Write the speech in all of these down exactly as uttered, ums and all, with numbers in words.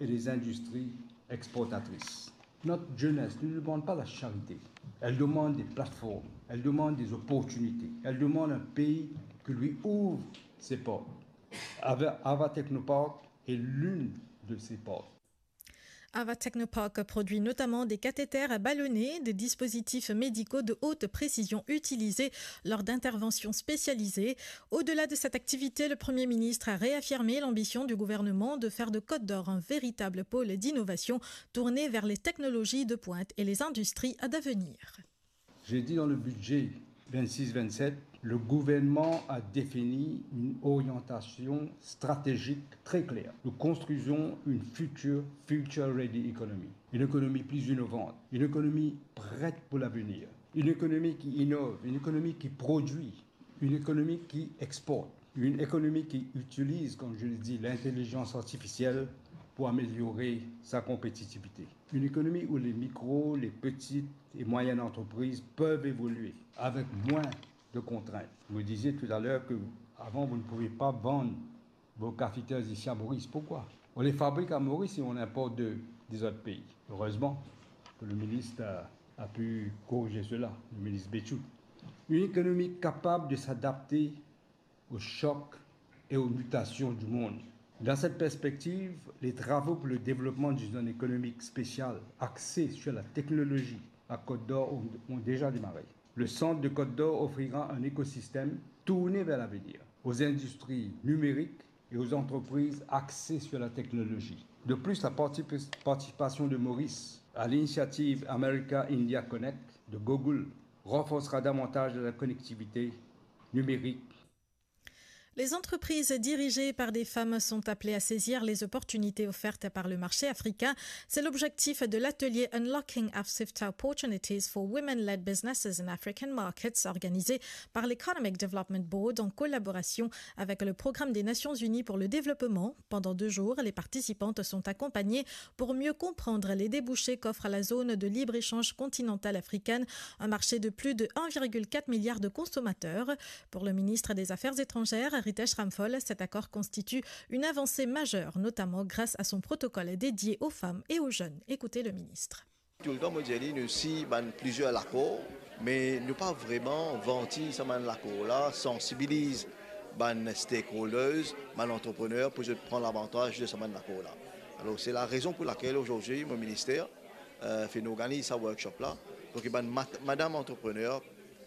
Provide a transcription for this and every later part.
et les industries exportatrices. Notre jeunesse ne demande pas la charité. Elle demande des plateformes, elle demande des opportunités, elle demande un pays qui lui ouvre ses portes. Ava, Ava Technopark est l'une de ces portes. Ava Technopark produit notamment des cathéters à ballonnet, des dispositifs médicaux de haute précision utilisés lors d'interventions spécialisées. Au-delà de cette activité, le Premier ministre a réaffirmé l'ambition du gouvernement de faire de Côte d'Or un véritable pôle d'innovation tourné vers les technologies de pointe et les industries d'avenir. J'ai dit dans le budget vingt-six vingt-sept, le gouvernement a défini une orientation stratégique très claire. Nous construisons une future, future ready economy. Une économie plus innovante, une économie prête pour l'avenir, une économie qui innove, une économie qui produit, une économie qui exporte, une économie qui utilise, comme je le dis, l'intelligence artificielle pour améliorer sa compétitivité. Une économie où les micros, les petites et moyennes entreprises peuvent évoluer avec moins de contraintes. Vous disiez tout à l'heure que avant vous ne pouviez pas vendre vos catheters ici à Maurice. Pourquoi ? On les fabrique à Maurice et on importe de, des autres pays. Heureusement que le ministre a, a pu corriger cela, le ministre Béthout. Une économie capable de s'adapter aux chocs et aux mutations du monde. Dans cette perspective, les travaux pour le développement d'une zone économique spéciale axée sur la technologie à Côte d'Or ont, ont déjà démarré. Le centre de Côte d'Or offrira un écosystème tourné vers l'avenir, aux industries numériques et aux entreprises axées sur la technologie. De plus, la particip-, participation de Maurice à l'initiative America India Connect de Google renforcera davantage la connectivité numérique. Les entreprises dirigées par des femmes sont appelées à saisir les opportunités offertes par le marché africain. C'est l'objectif de l'atelier Unlocking Africa Opportunities for Women-Led Businesses in African Markets, organisé par l'Economic Development Board en collaboration avec le Programme des Nations Unies pour le développement. Pendant deux jours, les participantes sont accompagnées pour mieux comprendre les débouchés qu'offre la zone de libre-échange continentale africaine, un marché de plus de un virgule quatre milliard de consommateurs. Pour le ministre des Affaires étrangères, Ritesh Ramphal, cet accord constitue une avancée majeure, notamment grâce à son protocole dédié aux femmes et aux jeunes. Écoutez le ministre. Toultan mo dir li, nou sign bann plizier lakor, me nou pa vreman vanti sa bann lakor la, sansibiliz bann stakeholders, bann antreprener pou zot pran lavantaz de sa bann lakor la. Alor, se la rezon pou lakel azordi mo minister, euh, finn organiz sa workshop la, pou ki bann mat-, madam antreprener,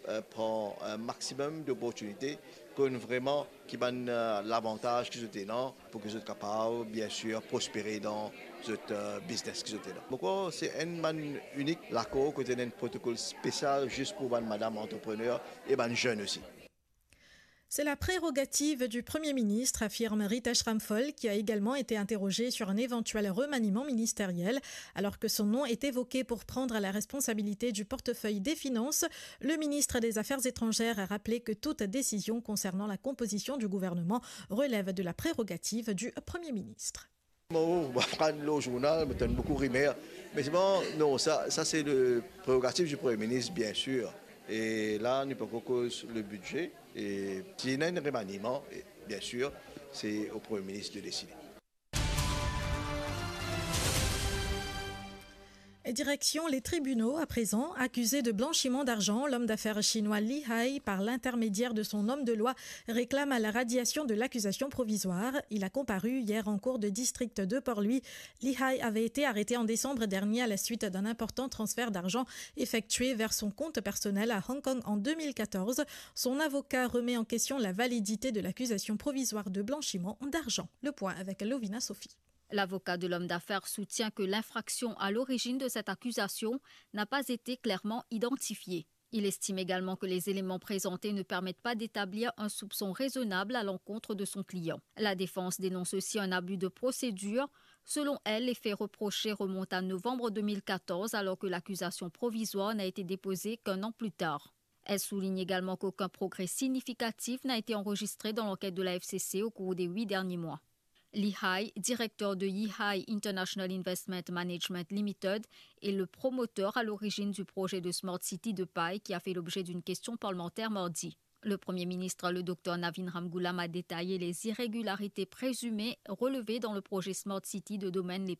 euh, pran un maximum d'opportunités, konn vreman ki bann, euh, lavantaz ki zot ena, pou ki zot kapav, bien sûr, prospere dan zot, euh, biznes ki zot ena. Mo krwar se enn bann inik lakor kot ena enn protokol spesial zis pou bann madam antreprener e bann zenn osi. C'est la prérogative du Premier ministre, affirme Ritesh Ramphal, qui a également été interrogé sur un éventuel remaniement ministériel, alors que son nom est évoqué pour prendre la responsabilité du portefeuille des Finances. Le ministre des Affaires étrangères a rappelé que toute décision concernant la composition du gouvernement relève de la prérogative du Premier ministre. Mo, mo pa lor zournal, mo tann boukou rimer. Me se bon, non, sa, sa se le prerogativ di Premie Minis, bien sir. E la, nou pe koz le bidze. E si ena enn remaniman, e bien sir, se o Premie Minis de deside. Et direction les tribunaux à présent. Accusé de blanchiment d'argent, l'homme d'affaires chinois Li Hai, par l'intermédiaire de son homme de loi, réclame la radiation de l'accusation provisoire. Il a comparu hier en cour de district de Port-Louis. Li Hai avait été arrêté en décembre dernier à la suite d'un important transfert d'argent effectué vers son compte personnel à Hong Kong en deux mille quatorze. Son avocat remet en question la validité de l'accusation provisoire de blanchiment d'argent. Le point avec Lovina Sophie. L'avocat de l'homme d'affaires soutient que l'infraction à l'origine de cette accusation n'a pas été clairement identifiée. Il estime également que les éléments présentés ne permettent pas d'établir un soupçon raisonnable à l'encontre de son client. La défense dénonce aussi un abus de procédure. Selon elle, les faits reprochés remontent à novembre deux mille quatorze, alors que l'accusation provisoire n'a été déposée qu'un an plus tard. Elle souligne également qu'aucun progrès significatif n'a été enregistré dans l'enquête de la F C C au cours des huit derniers mois. Li Hai, directeur de Yi Hai International Investment Management Limited, est le promoteur à l'origine du projet de Smart City de Pai qui a fait l'objet d'une question parlementaire mardi. Le Premier ministre, le docteur Navin Ramgoolam, a détaillé les irrégularités présumées relevées dans le projet Smart City de Domaine Les